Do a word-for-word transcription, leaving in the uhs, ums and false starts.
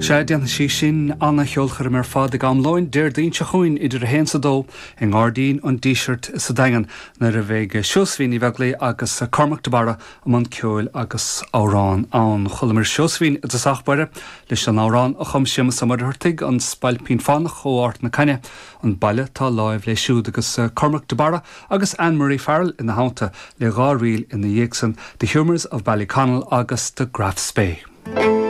Sea déanfaidh sí sin an-cheolchoirm ar fad ag am lóin Déardaoin seo chugainn idir a haon is a dó i nGairdín an Dísirt sa Daingean nuair a bheidh Seosaimhín Ní Bheaglaoich agus Cormac de Barra i mbun ceoil agus amhrán ann. Chualamar Seosaimhín i dtosach báire leis an amhrán a chum Séamus Ó Muircheartaigh an Spailpín Fánach ó Ard na Caithne, an baile tá láimh leis siúd agus Cormac de Barra agus Anne-Marie Farrell ina theannta le dhá ríl ina dhiaidh san The Humours of Ballyconnell agus The Graf Spee.